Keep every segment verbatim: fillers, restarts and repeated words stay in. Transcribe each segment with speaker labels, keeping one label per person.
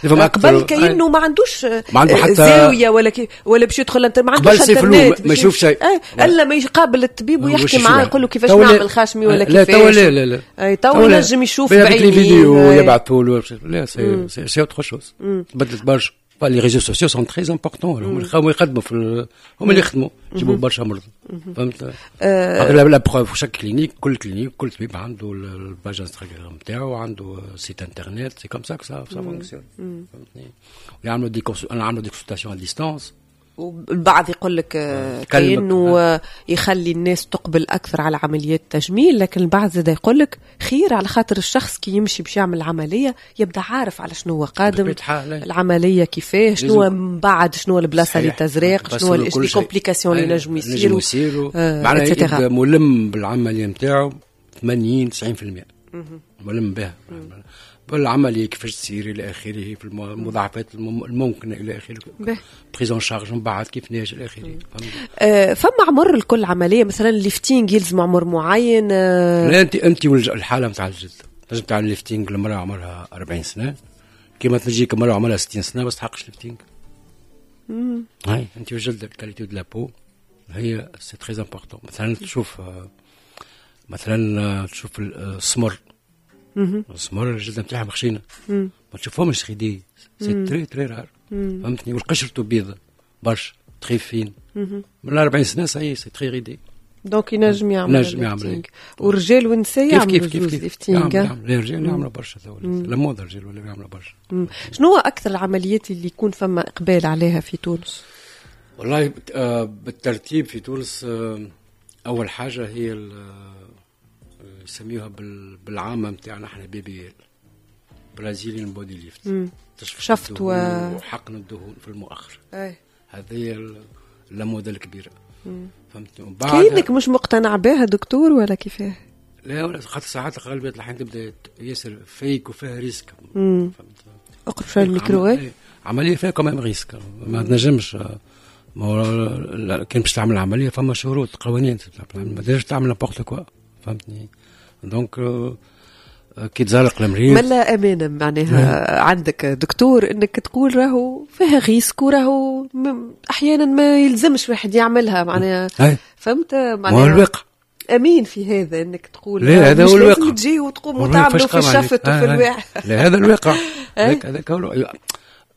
Speaker 1: قبل كانه ما عندوش
Speaker 2: ما عنده حتى
Speaker 1: زاوية ولا كي ولا باش يدخل انت ما عندوش انترنت،
Speaker 2: ما يشوف شيء
Speaker 1: الا ما يقابل الطبيب ويحكي معاه يقول له كيفاش نعمل خاشمي ولا
Speaker 2: كيفاش. لا توا لا لا لا
Speaker 1: اي توا ينجم يشوف بعينيه
Speaker 2: فيديو يبعثوا له. لا c'est c'est autre chose، تبدلت برشا. les réseaux sociaux sont très importants، هم يخدموا في هم اللي يخدموا يجيبوا برشا مرضى، فهمت؟ la preuve chaque clinique، كل clinique، كل طبيب عنده ال page انستغرام نتاعو، عنده site internet، c'est comme ça ça fonctionne، فهمتني؟ ويعملوا des نعملوا des consultations à distance.
Speaker 1: والبعض يقول لك كأنه يخلي الناس تقبل أكثر على عمليات التجميل، لكن البعض زاد يقول لك خير على خاطر الشخص كي يمشي باش يعمل عملية يبدأ عارف على شنو هو قادم، العملية كيفاه، شنو من بعد، شنو البلاصة اللي تزرق، شنو les complications اللي نجموا يصيروا،
Speaker 2: يصيروا آه معناها يبدا ملم بالعملية نتاعو ثمانين تسعين في المية ملم بها، بالعملية كيفاش تصير الى اخره، في المضاعفات الممكنة الى اخره، prise en charge من بعد كيفاش الى اخره.
Speaker 1: أه فما عمر لكل عمليه؟ مثلا lifting يلزم عمر معين؟
Speaker 2: أه لا، انت انت الحالة نتاع الجلد، تنجم تعمل lifting لمراه عمرها أربعين سنه، كيما تجيك مرأة عمرها ستين سنة ما تستحقش lifting. هاي انت وجلدك، qualité de la peau هي c'est très important. مثلا تشوف مثلا تشوف السمر، السمر الجلد نتاعهم خشينه، ما تشوفهمش ridés، c'est très très rare، فهمتني؟ والقشرته بيضة برشا، très fine، من أربعين سنة ça y est، c'est très ridé.
Speaker 1: donc ينجم يعمل.
Speaker 2: ينجم يعمل.
Speaker 1: والرجال والنساء يعملوا؟
Speaker 2: كيف كيف كيف
Speaker 1: lifting.
Speaker 2: يعمل، الرجال يعملوا برشا، la mode الرجال ولا يعملوا برشا.
Speaker 1: شنو هو اكثر العمليات اللي يكون فما اقبال عليها في تونس؟
Speaker 2: والله آه، بالترتيب في تونس، آه، اول حاجة هي آه، يسميوها بالعامه نتاعنا احنا BBL، Brazilian body lift.
Speaker 1: شفط
Speaker 2: و وحقن الدهون في المؤخر. هذه la mode الكبيره، فهمتني؟
Speaker 1: كأنك مش مقتنع بها دكتور ولا كيفاه؟
Speaker 2: لا، خاطر ساعات غالبية الأحيان تبدا ياسر fake وفيها risque، فهمت؟
Speaker 1: اقرب شوية الميكرو.
Speaker 2: إيه، عملية فيها quand même risque، ما تنجمش. ما هو كان باش تعمل عملية فما شروط، قوانين، ما تنجمش تعمل n'importe quoi، فهمتني؟ donc كي تزلق المريض.
Speaker 1: ملا امانه معناها عندك دكتور انك تقول راهو فيها risque وراهو احيانا ما يلزمش واحد يعملها معناها، فهمت؟
Speaker 2: معناها هو الواقع.
Speaker 1: امين في هذا انك تقول
Speaker 2: لا، هذا هو الواقع.
Speaker 1: لازم تجي وتقوم وتعملوا في الشفط وفي الواحد.
Speaker 2: لا، هذا الواقع، هذاك هو.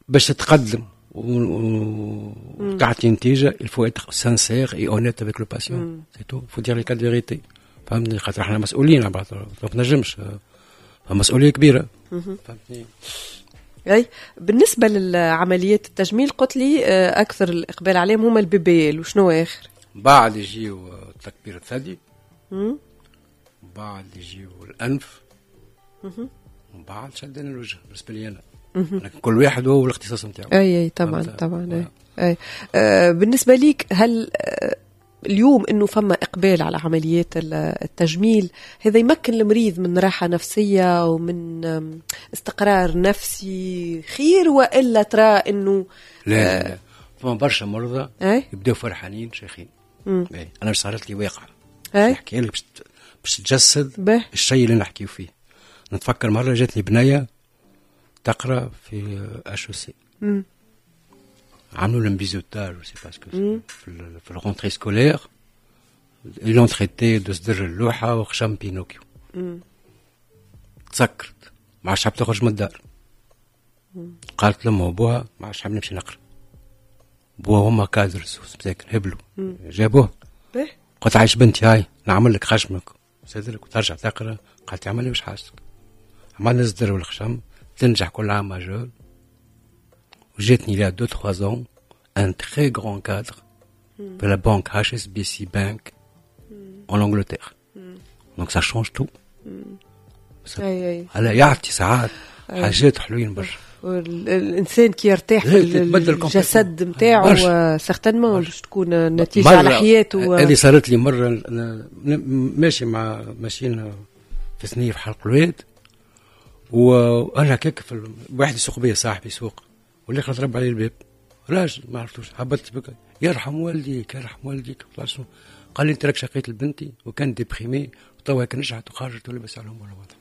Speaker 2: باش تتقدم وتعطي نتيجة il faut être sincère et honnête avec le patient، c'est tout، faut dire les quatre vérités، فهمتني؟ خاطر احنا مسؤولين على بعض، ما تنجمش، مسؤولية كبيره، فهمتني؟
Speaker 1: اي، بالنسبة للعمليات التجميل قلت لي آه، اكثر الاقبال عليهم هما ال BBL، وشنو اخر؟
Speaker 2: بعد يجيو تكبير الثدي، بعد يجيو الانف، وبعد شدنا الوجه بالنسبة لي انا، لكن كل واحد هو الاختصاص نتاعو.
Speaker 1: اي اي طبعا طبعا، اي, أي. آه بالنسبة ليك، هل آه اليوم انه فما اقبال على عمليات التجميل هذا يمكن المريض من راحة نفسية ومن استقرار نفسي خير، والا ترى انه
Speaker 2: لا لا لا، فما برشا مرضى يبداو فرحانين شيخين. انا صارت لي واقعه نحكي لك باش باش تجسد الشيء اللي نحكيو فيه. نتفكر مرة جاتني بنيه تقرا في HEC، عملوا لهم biseautage c'est parce que في في ال rentrée scolaire ils l'ont traité de صدر اللوحة وخشم بينوكيو. تسكرت، ما عادش حاب تخرج من الدار. قالت لامها وبوها ما عادش حاب نمشي نقرا. بوها هما cadres مساكن هبلوا، جابوه. قلت عايش بنتي، هاي نعمل لك خشمك صدرك وترجع تقرا. قالت عمل لي وش حاجتك. عملنا الصدر والخشم، تنجح كل عام major. وجاتني il y a deux trois ans un très grand cadre de la banque H S B C Bank en Angleterre. Donc ça change tout. هلا يعطي ساعات حاجات حلوين برشا.
Speaker 1: الانسان كي يرتاح في الجسد نتاعو certainement باش تكون النتيجة على حياته.
Speaker 2: هذه صارت لي مره، ماشي مع ماشيين في ثنيه في حلق الواد، وانا هكاك في واحد يسوق بيا، صاحبي يسوق، والاخر ضرب علي الباب، راجل ما عرفتوش. هبطت بك، يرحم والديك يرحم والديك. قال لي انت راك شقيت لبنتي وكان déprimée وتوا هيك نجحت وخرجت ولبس عليهم ولا وضع.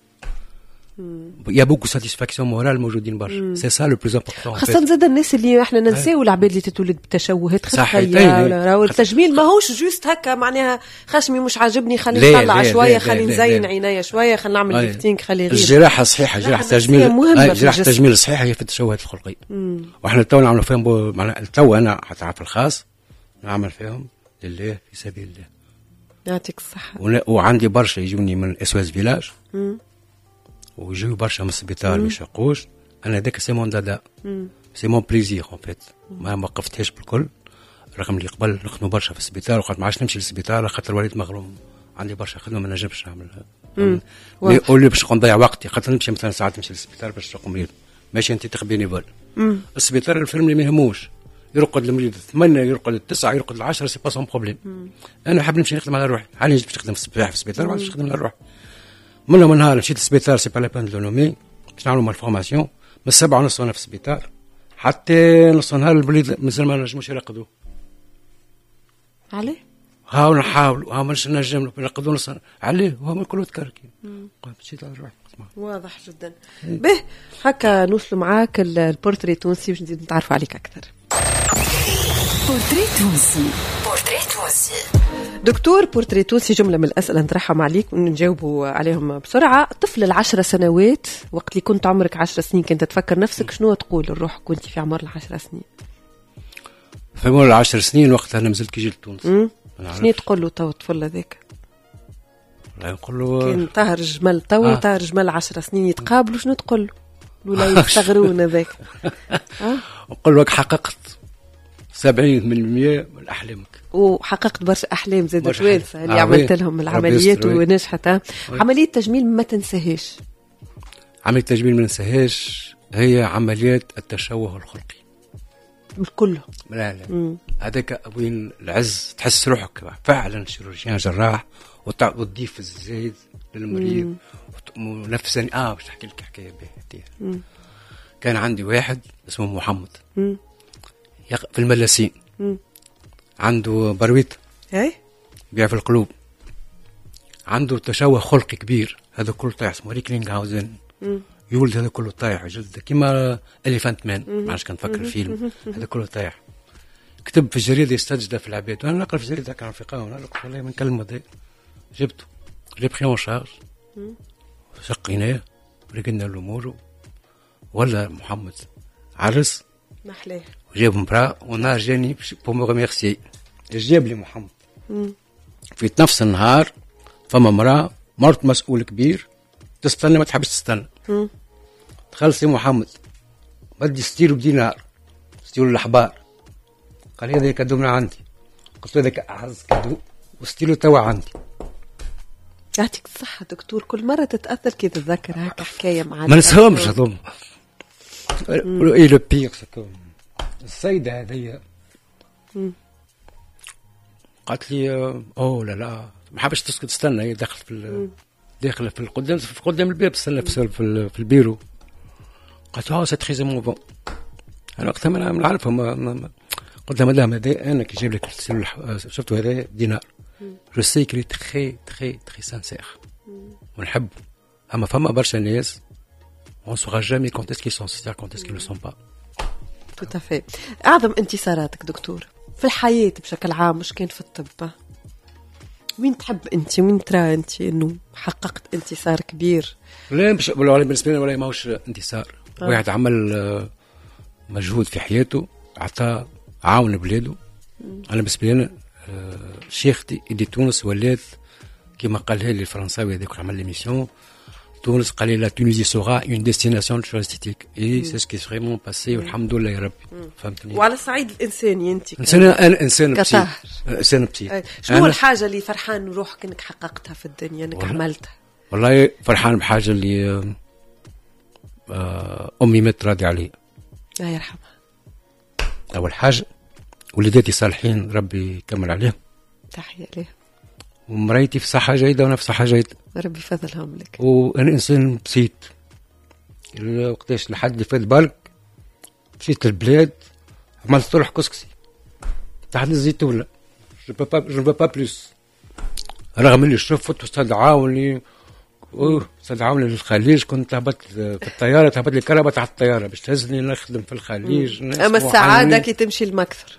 Speaker 2: y a beaucoup satisfaction morale موجودين برشا، c'est ça le plus important.
Speaker 1: خاصة زاد الناس اللي احنا ننساو العباد اللي تتولد بتشوهات خلقية، راهو التجميل ماهوش juste هكا معناها خشمي مش عاجبني خليني نطلع شوية، خليني نزين عينيا شوية، خلينا نعمل lifting، خلي غير.
Speaker 2: الجراحة الصحيحة، جراحة التجميل، جراحة التجميل الصحيحة هي في التشوهات الخلقية، واحنا تو نعملوا فيهم، تو انا حتى في الخاص نعمل فيهم لله في سبيل الله.
Speaker 1: يعطيك الصحة.
Speaker 2: وعندي برشا يجوني من SOS Village، ويجيو برشا من السبيطار ما يشقوش. انا هذاك c'est mon dada، c'est mon plaisir en fait، ما وقفتهاش بالكل، رغم اللي قبل نخدموا برشا في السبيطار وقت ما عادش نمشي للسبيطار خاطر وليت مغروم، عندي برشا خدمة ما نجمش نعملها. mais au lieu باش نضيع وقتي خاطر نمشي مثلا ساعات نمشي للسبيطار باش نشق مريض، ماشي انت تخبيني bénévole. السبيطار الفيلم اللي ما يهموش، يرقد المريض ثمانية، يرقد التسعة، يرقد العشرة، c'est pas son problème. انا حاب نمشي نخدم على روحي، عاني باش نخدم في السبيطار ما عادش نخدم على روحي. من من نهار مشيت للسبيطار، c'est pas la peine de nommer، باش نعملوا malformation، من السبعة ونص وانا في السبيطار حتى نص نهار الوليد مازال ما نجموش يرقدوا.
Speaker 1: عليه؟
Speaker 2: هاو نحاولوا، هاو مش نجم نرقدوا نص عليه، وهو الكل تكركي. مشيت على روحي.
Speaker 1: واضح جدا. به هكا نوصلوا معاك البورتري التونسي باش نزيد نتعرفوا عليك اكثر.
Speaker 3: بورتري تونسي، بورتري تونسي.
Speaker 1: دكتور، بورتري تونسي جملة من الأسئلة نطرحهم عليك ونجاوبوا عليهم بسرعة. طفل العشر سنوات، وقت اللي كنت عمرك عشر سنين كنت تفكر نفسك شنو تقول لروحك كنت في عمر العشر سنين؟
Speaker 2: في عمر العشر سنين وقتها أنا مازلت كي جيت لتونس.
Speaker 1: شنو تقول له تو الطفل هذاك؟
Speaker 2: لا نقول له
Speaker 1: كان طاهر جمل تو آه. طاهر جمل عشر سنين يتقابلوا شنو تقول له؟ الولا يستغرون هذاك.
Speaker 2: نقول لك حققت سبعين من المية من أحلامك،
Speaker 1: وحققت برشا أحلام زاد توانسة اللي آه عملت لهم العمليات ونجحت. عملية تجميل ما تنساهاش.
Speaker 2: عملية تجميل ما ننساهاش هي عمليات التشوه الخلقي
Speaker 1: كله.
Speaker 2: لا لا هذاك وين العز، تحس روحك فعلا chirurgien جراح وتضيف الزايد للمريض ونفسا. اه باش نحكي لك حكاية باهيه. كان عندي واحد اسمه محمد مم. في الملاسين، عنده برويت
Speaker 1: اي
Speaker 2: بيع في القلوب، عنده تشوه خلقي كبير، هذا كله طايح، اسمه ريكلينغهاوزن، يولد هذا كله طايح جلد كيما Elephant Man، ما عادش كنفكر الفيلم، هذا كله طايح. كتب في الجريدة يستجدى في العباد، وانا نقرا في الجريدة كان في قهوة، انا قلت والله ما نكلم هذا، جبته l'ai pris en charge، شقيناه رقدنا الامور، ولا محمد عرس
Speaker 1: محلاه
Speaker 2: وجاب مبرا، ونهار جاني pour me remercier جاب لي محمد. مم. في نفس النهار فما مراة مرت مسؤول كبير تستنى ما تحبش تستنى. دخل سي محمد بدي ستيلو بدينار، ستيلو الاحبار، قال هذا cadeau من عندي، قلت له هذاك اعز cadeau و stylo توا عندي.
Speaker 1: يعطيك الصحة دكتور، كل مرة تتأثر كي تتذكر هكا حكاية معنا.
Speaker 2: ما نسهمش هذوما. et le pire السيدة هذيا قالت لي اوه لا لا ما حابش تسكت تستنى، هي دخلت في داخله في القدام في قدام الباب تستنى في, في البيرو. قالت اه c'est très émouvant. انا وقتها ما نعرفها، قلت لها مدام هذا انا كي جايب لك شفتوا هذا دينار، je sais qu'il est très très très sincère ونحب، اما فما برشا ناس on saura jamais quand est-ce qu'ils sont sincères quand est-ce qu'ils ne le sont pas.
Speaker 1: Tout à fait. أعظم انتصاراتك دكتور في الحياة بشكل عام مش كان في الطب، وين تحب أنت وين ترى أنت أنه حققت انتصار كبير؟
Speaker 2: لا مش بالنسبة لي ولا ماهوش انتصار. آه. واحد عمل مجهود في حياته، عطى عاون بلاده. أنا بالنسبة لي أنا شيختي اللي تونس ولات كما قالها لي الفرنساوي هذاك عمل l'émission تونس، قال لي la Tunisie sera une destination touristique et c'est ce qui s'est vraiment passé والحمد لله يا ربي. فهمتني؟
Speaker 1: وعلى الصعيد الانساني انت
Speaker 2: انسان، انا انسان بسيط، انسان بسيط.
Speaker 1: شنو الحاجة اللي فرحان روحك انك حققتها في الدنيا، انك عملتها؟
Speaker 2: والله فرحان بحاجة اللي امي مات راضي علي
Speaker 1: الله يرحمها.
Speaker 2: اول حاجة وليداتي صالحين ربي يكمل عليهم،
Speaker 1: تحية ليه،
Speaker 2: ومرايتي في صحة جيدة وأنا في صحة جيدة،
Speaker 1: ربي يفضلهم لك.
Speaker 2: وأنا إنسان بسيط، وقتاش لحد اللي فات بالك مشيت للبلاد عملت طرح كسكسي تحت الزيتونة، je peux pas je veux pas plus، رغم اللي شفت واستدعاوني اوه استدعوني للخليج، كنت هبطت في الطيارة، تهبط لي الكرهبة تحت الطيارة باش تهزني نخدم في الخليج.
Speaker 1: اما السعادة كي تمشي المكثر.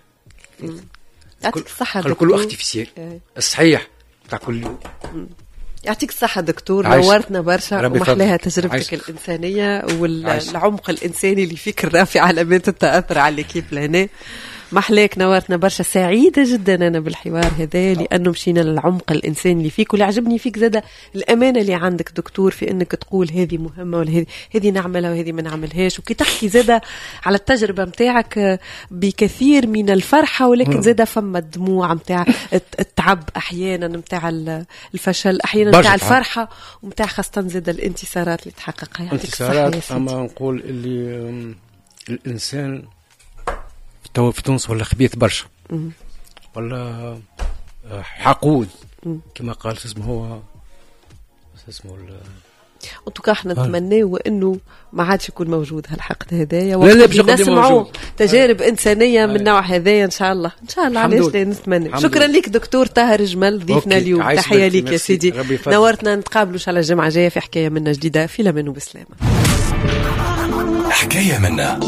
Speaker 1: يعطيك الصحة
Speaker 2: دكتور. كله artificiel الصحيح تاع كل يوم.
Speaker 1: يعطيك الصحة دكتور، نورتنا برشا ومحلاها تجربتك عايش. الإنسانية والعمق الإنساني اللي فيك الرافع علامات التأثر على l'équipe لهنا. محلاك، نورتنا برشا. سعيدة جدا أنا بالحوار هذا لأنه مشينا للعمق الإنساني اللي فيك، واللي عجبني فيك زادة الأمانة اللي عندك دكتور في أنك تقول هذه مهمة ولا هذه هذه نعملها وهذه ما نعملهاش، وكي تحكي زادة على التجربة متاعك بكثير من الفرحة، ولكن زادة فما الدموع متاع التعب أحيانا، متاع الفشل أحيانا، متاع الفرحة، ومتاع خاصة زادة الانتصارات اللي تحققها.
Speaker 2: انتصارات. أما نقول اللي الإنسان تو في تونس ولا خبيث برشا ولا حقود كما قال اسمه هو اسمه
Speaker 1: en tout cas احنا نتمناو انه ما عادش يكون موجود هالحقد هذايا، نسمعوا تجارب انسانيه من النوع هذايا ان شاء الله. ان شاء الله، علاش لا، نتمنى. شكرا لك دكتور طاهر جمل ضيفنا اليوم، تحية لك يا سيدي، نورتنا. نتقابلوا ان شاء الله الجمعة الجاية في حكاية منا جديدة. في الامان وبسلامه. حكاية منا.